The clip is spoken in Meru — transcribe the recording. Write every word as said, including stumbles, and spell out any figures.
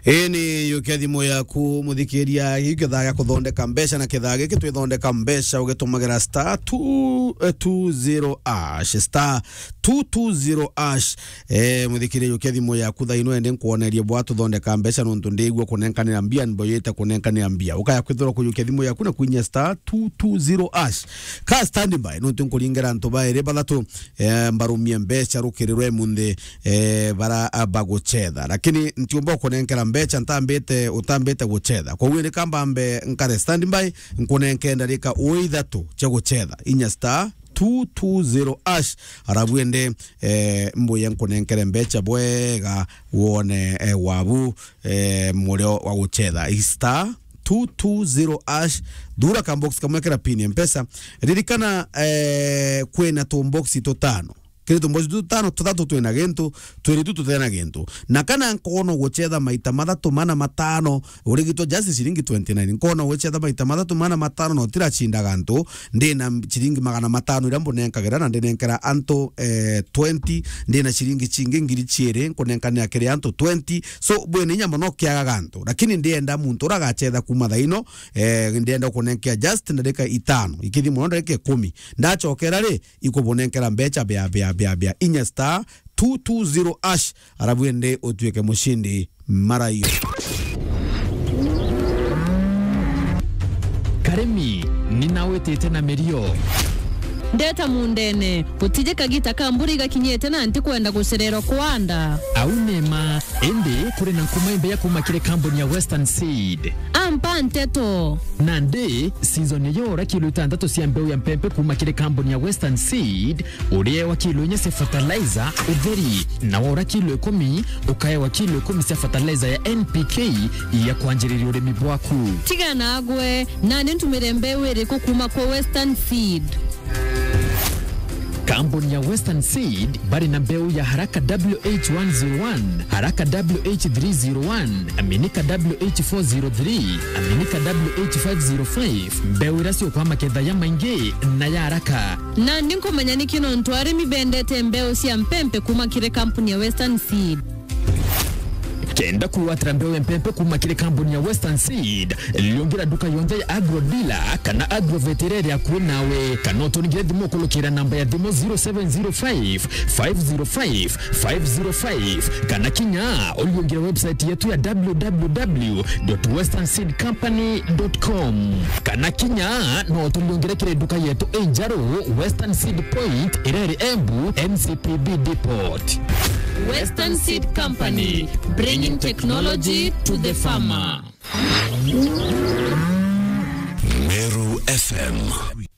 Ii ni yukia thimu yaku, muthikiria, giu kithaa gia kuthondeka mbeca, na kithaa giki twithondeka mbeca ugitumagira star two two zero hash, star two two zero hash. Eh, muthikiria, yukia thimu yaku thaa ino, ende nkwonerie bwa tuthondeka mbeca, nontu ndigua kunenkanira mbia, mboyete kunenkanira mbia. Ukaya kwithirwa kuyukia thimu yaku na kwinyia star two two zero hash. Ka standby, nontu nkuringira antu bairi bathatu, eh, mbarumie mbeca rukiri rwa imunthi, eh, bara, ah, bagucetha. Lakini ntiumba kunenkera mbeca ntambite, utambite gucetha. Koguo ni kamba mbe nkare standby, nkunenke ndarika o ithatu cia gucetha. Inya star two two zero hash. Arabu ende, eh, mbuye nkunenkere mbeca bwega wone, eh, wabu, eh, murio wa gucetha. Star two two zero hash. Thura ka box kamwe kira pin ya Mpesa. Ririkana, eh, kwina tu box tutano. Kiri tu box tutano, tuthatu twina gintu, twiri tu tutena gintu. Na kana nkoona ugucetha maita mathatu mana matano, urigitwa just ciringi twenty nine. Nkoona ugucetha maita mathatu mana matano na utiracinda gantu, ndina ciringi magana matano iria mbunenkagira na ndinenkera antu, eh, twenty, ndina ciringi cingi ngiri ciiri, nkunenkanira kiri antu twenty. So, bwina inya mono kiaga gantu. Lakini ndienda muntu uria agacetha kuuma thaa ino, eh, ndienda kunenkea just ndarika itano. Ikithi mono ndarika ikumi. Ndacokera ri, ikubunenkera mbeca bia, bia, bia, bia. Inya star two two zero hash, arabu ende utuike mucindi maraio. Karimi, ni nawitite na mirio. Ndeta mundene, gutije kagita ka mbura igakinyite na ntikwenda gucererwa kwanda. Au ni ma, indi kuri na nkuma imbeya kuuma kiri kambuni ya Western Seed. Ampa nteto. Nandi, season ya ura kilo itantatu cia mbeu ya mpempe kuuma kiri kambuni ya Western Seed, uriewa kilo inya cia fertilizer utheri, na waura kilo ikumi, ukaewa kilo ikumi cia fertilizer ya N P K ya kwanjiriria urimi bwaku. Tiga nagwe, nandi ntumire mbeu iriku kuuma kwa Western Seed? Kambuni ya Western Seed bari na mbeu ya Haraka W H one zero one, Haraka W H three zero one, Aminika W H four zero three, Aminika W H five zero five, mbeu iria ciukwa maketha ya maingi na ya haraka. Nandi nkumenya niki nontu arimi bendete mbeu cia mpempe kuuma kiri kambuni ya Western Seed. Kenda kwigwatira mbeu ya mpempe kuuma kiri kambuni ya Western Seed, liungira nduka yonthe ya Agro Dealer kana Agrovet iria iri akui nawe, kana uturingire thimu ukulukira namba ya thimu zero seven zero five, five zero five, five zero five, kana kinya uliungire website yetu ya w w w dot western seed company dot com. Kana kinya no utuliungire kiri nduka yetu injeru, Western Seed Point, iria iri Embu, N C P B Depot. Western Seed Company, bringing technology to the farmer. Meru F M.